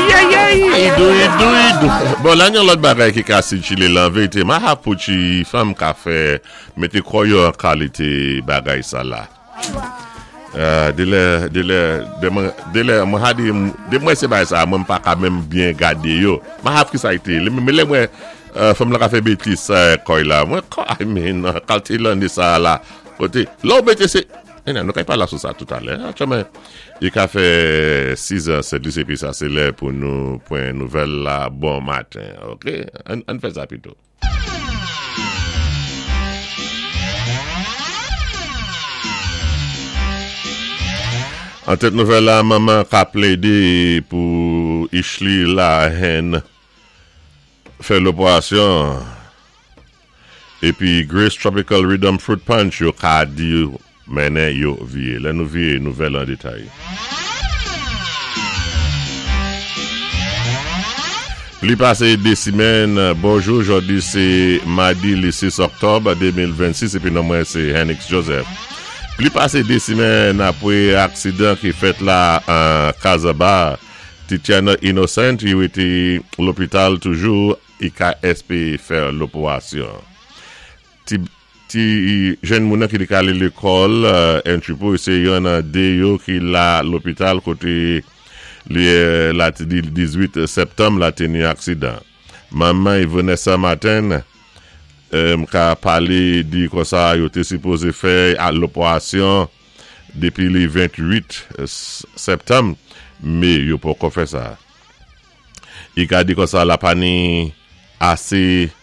Ayayay! Idou, idou, idou. Bon, la gen lòt bagay ki ka sikile la, an verite, ma ha pou ti fanm ka fè mete kò yo an kalite bagay sa la. De lè, de lè, de mwen, de lè, mwen ha di, de mwen se bagay sa, mwen pa ka menm byen gade yo. Ma ha ki sa ite, men lè mwen fanm la ka fè betis sa kòy la, mwen kò, I mean, kalte lane sa la, kote, lè ou mete se, Enè, nou ka pale sou sa toutalè. Aktyèlman, li ka fè 6 an 7 lis epi sa se lè pou nou pwen nouvèl la bon maten. Ok, ann fè sa pito. An tèt nouvèl la, manman ka plede pou Ishly Lahaine fè loperasyon. Epi Grace Tropical Rhythm Fruit Punch yo ka di mennen yo vye. Lè nou vye, nouvèl an detay. Pli pase 2 simèn, bonjou, jodi se madi li 6 oktòb 2026 epi non mwen se Hennix Joseph. Pli pase 2 simèn apre aksidan ki fèt la an Kazaba, Titiana Innocent li rete lopital toujou IKSP fè loporasyon. Ti ti jenn moun nan ki te ka ale lekòl Entry se yon nan 2 yo ki la lopital kote li la ti di 18 septanm la te ni aksidan. Manman Yvonessa Martin m ka pale di konsa yo te sipoze fè loporasyon depi li 28 septanm me yo poko fè sa. I ka di konsa la pa ni ase.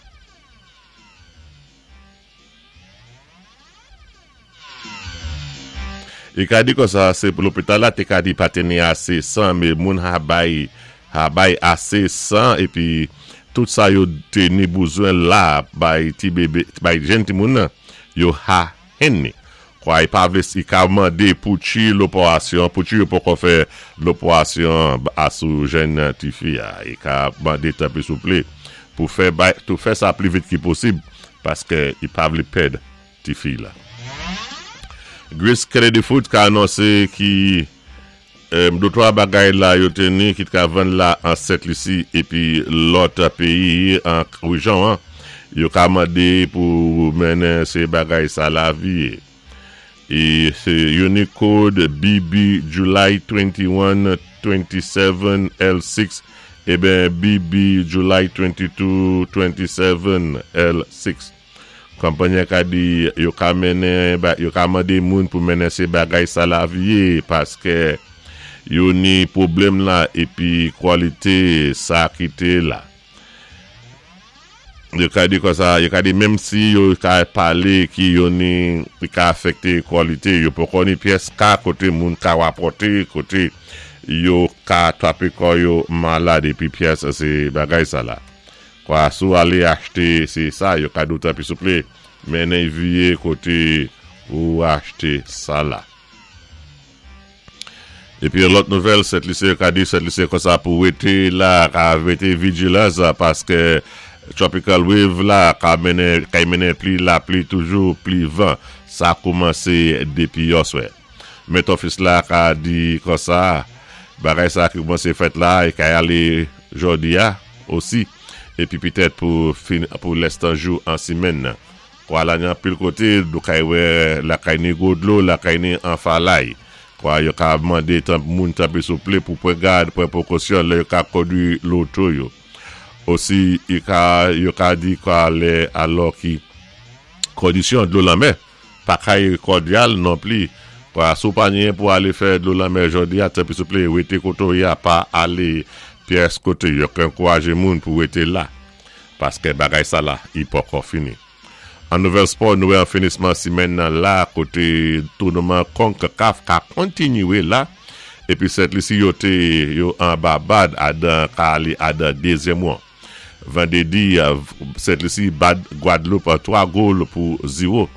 I ka di konsa se lopital la te ka di pa te ni ase san me moun ha bay ha bay ase san epi tout sa yo te ni bouzwen la bay ti bebe bay jenn timoun nan yo ha henn ni. Kwa y pa vle si ka mande pou tchi loporasyon pou tchi yo poko fè loporasyon a sou jèn tifi a y ka mande tanpri souple pou fè bay tou fè sa pli vit ki posib paske y pa vle pèd tifi la. Grace Kennedy Foods ka anonse ki Dotwa bagay la yo te ni ki t ka vann la an Sent Lisi epi lòt peyi an rejyon an, yo ka mande pou mennen se bagay sa lavi ye. E se Unicode BB July 21 27 L6 eben BB July 22 27 L6. Konpanyi an ka di yo ka mennen yo ka mande moun pou mennen se bagay sa lavi ye paske yo ni pwoblèm la epi kwalite sa ki te la. Yo ka di konsa, yo ka di menm si yo ka pale ki yo ni ki ka afekte kwalite yo poko ni pyès ka kote moun ka rapòte kote yo ka trape kò yo malad epi pyès se bagay sa la. Kwa si w ale achte se sa yo ka di w tanpri souple mennen viye kote ou achte sa la. Epi yon lòt nouvèl Sent Lisi yo ka di Sent Lisi konsa pou rete la ka rete vijilans paske tropical wave la ka mennen kay mennen pli lapli toujou pli van sa koumanse depi yòswè. Met Office la ka di konsa bagay sa ki koumanse fèt la e kay ale jodi a osi epi petèt pou fin pou lèstan jou an simenn nan. Kwa la ni anpil kote nou kay wè lakay ni gwo dlo lakay ni an falay. Kwa yo ka mande tan moun tanpri souple pou pran gad pran pwokosyon lè yo ka kondwi loto yo. Osi yo ka yo ka di kwa lè alò ki kondisyon dlo lanmè. Pa kay kòdyal non pli. Kwa si w pa genyen pou ale fè dlo lanmè jodi a, tanpri souple rete kote w ye a pa ale pyès kote yo k ankouraje moun pou rete la. Paske bagay sa la i pòkò fini. An nouvèl spò nou wè an finisman simèn nan la kote tounouman Concacaf ka kontinye la epi Sent Lisi yo te yo an Babad adan ka ale adan dezyèm won. Vandredi, Sent Lisi bat Gwadloup 3 gol pou 0.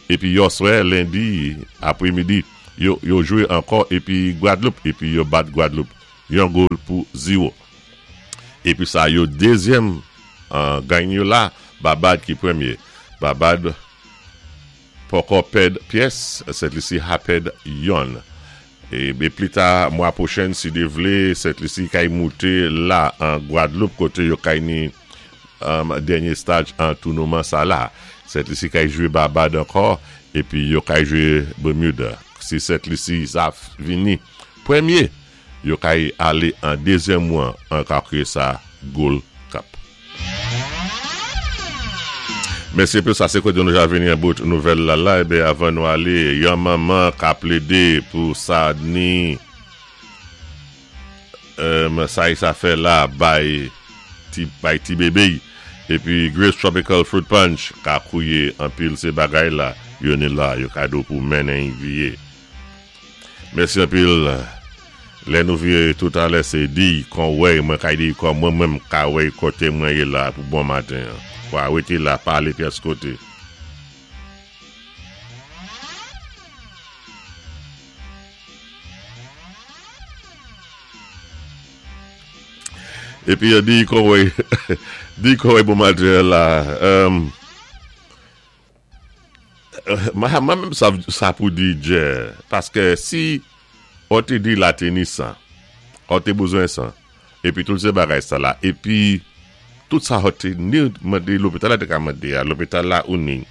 Epi yòswè lendi apremidi, yo yo jwe ankò epi Gwadloup epi yo bat Gwadloup 1 gol pou 0. Epi sa yo dezyèm gagn yo la, Babad ki premye. Babad poko pèd pyès, Sent Lisi ha pèd yonn. Ébé plita mwa pwochenn si Dye vlé Sent Lisi kay mouté la an Gwadloup koté yo kay ni dènyé staj an tounoman sa la. Sent Lisi kay jwé Barbad ankò épi yo kay jwé Bermuda. Si Sent Lisi sa vini pwèmyé yo kay alé an dezyèm wan an ka kwiyé sa Gold Cup. Mèsi anpil sa se kote nou ja vini an bout nouvèl la la eben avan nou ale yon manman ka plede pou sa ni sa y sa fè la bay ti bay ti bebe y epi Grace Tropical Fruit Punch ka kouye anpil se bagay la yo ni la yo kado pou mennen y viye. Mèsi anpil lè nou vire tout alè se diy kon wèy mwen kay diy kò mwen mwen m ka wèy kote mwen ye la pou bon maten an wa rete la pa ale pyès kote. Epi diy kon wèy diy kon wèy bon maten an la. Mwen menm sa pou di djè paske si ou te di la te ni 100 ou te bezwen 100 epi tout se bagay sa la epi tout sa ou te ni mande lopital la te ka mande a lopital la ou ni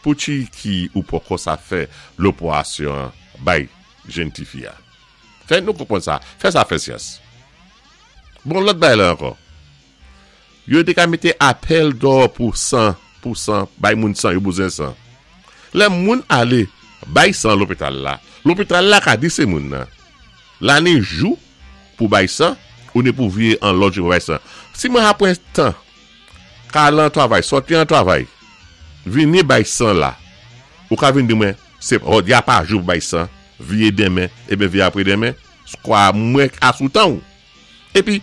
pou ti ki ou poko sa fè loporasyon an bay jenn ti fi a fè nou konprann sa fè sa fè syans bon lòt bagay la ankò. Yo te ka mete apèl dò pou 100 pou 100 bay moun 100 yo bezwen 100. Lè moun ale bay 100 lopital la, lopital la ka di se moun nan. La ni jou pou bay 100 ou ni pou vye an lòt jou pou bay 100. Si mwen apwen tan ka al an travay, sòti an travay, vini bay 100 la, ou ka vin di mwen se jodi a pa jou pou bay 100, vye demen, eben vye apre demen, skwa mwen a sou tan ou. Epi,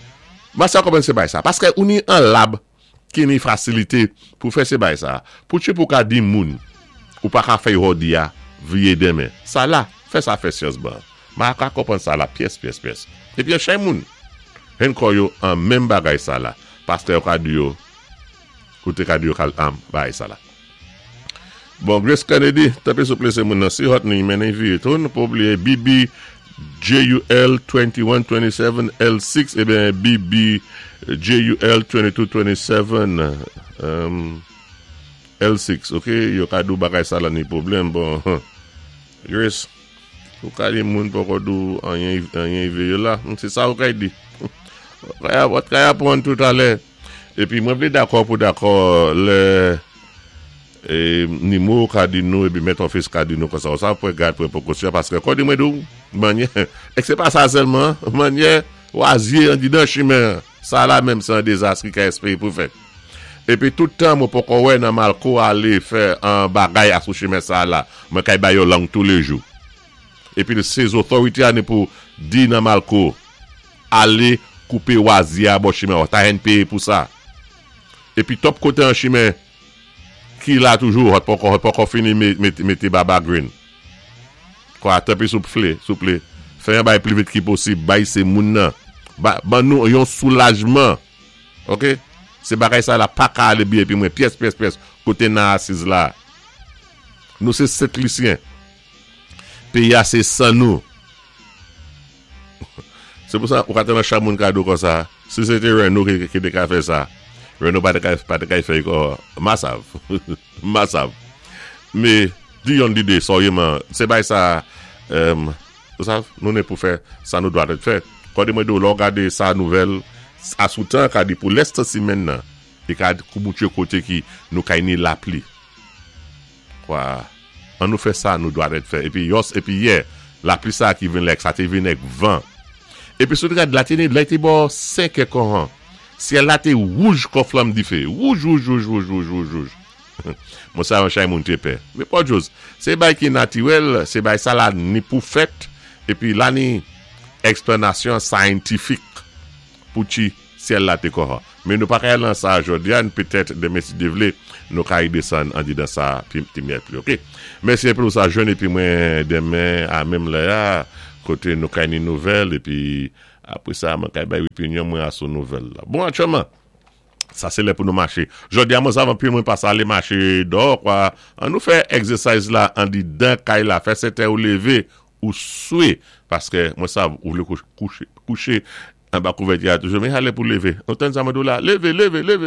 mwen sa konprann se bay sa. Paske ou ni an lab ki ni fasilite pou fè se bay sa. Pou tchip ou ka di moun ou pa ka fè jodi a vye demen. Sa la, fè sa fè syans ban. Ma ka konprann sa la pyès pyès pyès. Epi an chay moun hen kò yo an menm bagay sa la. Paske yo ka di yo, ou te ka di yo kal am bagay sa la. Bon Grace Kennedy tanpri souple se moun nan si hot ni mennen vire tou nou pa bliye BB JUL 21 27 L6 eben BB JUL 22 27 L6 ok yo ka di w bagay sa la ni pwoblèm bon Grace ou ka di moun poko di w anyen anyen vire la se sa ou kay di ou kay aprann toutalè. Epi mwen vle dakò pou dakò lè Nimo ka di nou epi mèt òfis ka di nou konsa konsa pran gad pran prekosyon paske kò di mwen di w manyè e se pa sa sèlman manyè wazye andidan chimen an sa la menm se yon dezas ki ka espere pou fèt epi tout tan mwen poko wè nan malko ale fè an bagay a sou chimen sa la mwen kay ba yo lang toulejou epi se zotorite a ni pou di nan malko. Ale koupe wazye a bò chimen an ta hen peye pou sa. Epi top kote an chimen ki la toujou hot poko hot poko fini mete baba green. Kwa tanpri soupfle souple fè yon bagay pli vit ki posib bay se moun nan ban nou yon soulajman ok se bagay sa la paka ale byen epi mwen pyès pyès pyès kote nan asiz la nou se sentlisyen peyi a se nou. Se pou sa ou ka tande chak moun ka di w konsa, si se te Reno ki te ka fè sa, Reno pa te ka pa te ka fè kò masav. Masav. Me di yonn lide sòyeman, se bay sa ou sav, nou ne pou fè sa nou dwa dèt fè. Kòde mwen di w lè w gade sa nouvèl a sou tan ka di pou lès tan simenn nan, li ka koubouche kote ki nou kay ni lapli. Kwa. An nou fè sa nou dwa dèt fè. Epi yòs, epi yè, lapli sa a ki vin lèk sa te vin èk van. Epi sou te gad la te ne, lè te bò senkè konhan, syèl la te wouj kon flanm dife. Wouj, wouj, wouj, wouj, wouj, wouj, wouj. Mwen sa yon chay moun te pè. Men pòdjoz, se bay ki natirèl, se bay sa la ni pou fèt, epi la ni eksplanasyon scientific pou ti. Syèl la te kòhan. Men nou pa ka al nan sa jodi a, n petèt demen si Dye vle, nou ka redesann andedan sa pi ti myèl pli ok. Mèsi anpil ou sa jwenn epi mwen demen a menm lè a kote nou kay ni nouvèl epi apre sa mwen kay bay opinyon mwen a sou nouvèl la. Bon aktyèlman sa se lè pou nou mache. Jodi a mwen sav anpil mwen pase ale mache dò kwa an nou fè egzesayz la andedan kay la fè sèten ou leve. Ou swe, paskè mwen sav ou vlé kouché anba kouvèti-a toujou, men sa lè pou lévé. Ou tann sa mwen di-w la, lévé, lévé, lévé!